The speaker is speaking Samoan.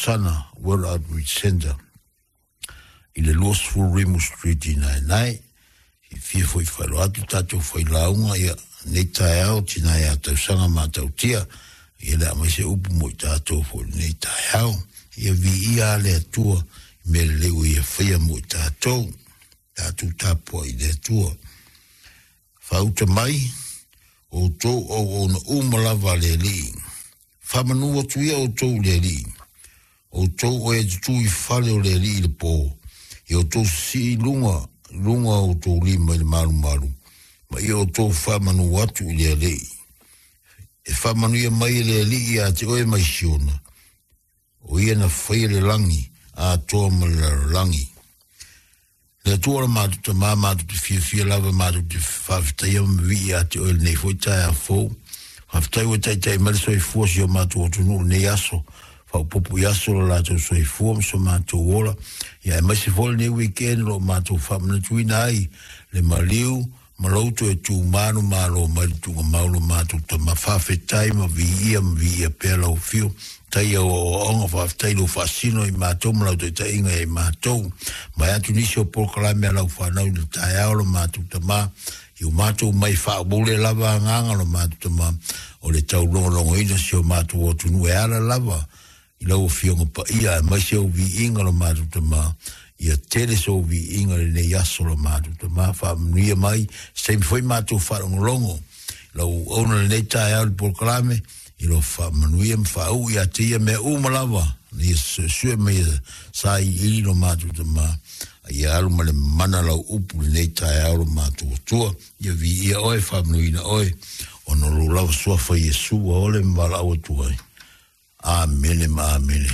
Sana World Outreach Centre i le 20 Rimu Street i Naenae. Fiafia foi e faailoa atu tatou failauga ia nei taeao tina ia tausaga matautia ia le a aumai se upu mo i tatou foi i lenei taeao. Ia viia a le Atua i mea lelei ua ia faia mo i tatou. Tatou tapuai i le Atua. Faauta mai, outou auauna uma lava a le Alii. Faamanu atu ia outou i le Alii. Outou o e tutū i fale o le Alii i le pō, ia outou sisii i luga, luga o outou lima i le malumalu, ma ia outou faamanu atu i le Alii. E faamanuia mai e le Alii ia te oe mai Siona, o ia na faia le lagi atoa ma le lalolagi. Le Atua o le matou Tama, matou te fiafia lava, matou te faafetaia ma vivii ia te Oe i lenei foi taeao fou. Faafetai ua taitai mai le soifua o si o matou atunuu i lenei aso, faaopoopo i aso o lo latou soifua ma so matou ola, ia aemaise foi lenei weekend o lo o matou faamanatuina ai le maliu ma lou toe tu manumalo mai le tuugamau lo matou tama. Faafetai ma viia ma viia pea lau afio. Tai au aoaoga, faafetai lou faasino i matou ma lau taitaiga ia i matou. Vae atu nisi o polokalame a lau fanau i le taeao lo matou tama, i o matou mai faaupule lava agaga lo matou tama, o le taulogologoina si o matou atunuu e ala lava i lau Afioga Paia aemaise ou viiga lo matou Tama, ia tele sou viiga i lenei aso lo matou Tama, faamanuia mai se taimi foi matou faalogologo i lau auauna i lenei taeao i le polokalame, i lo faamanuia ma faauu ia te ia mea uma lava, na ia suesue ma ia sailiili lo matou Tama, a ia alu ma le mana lau upu i lenei taeao lo matou Atua, ia viia oe, faamanuina oe, ona o lou lava Suafa Iesu ua ole ma valaau atu ai. Amene ma amene.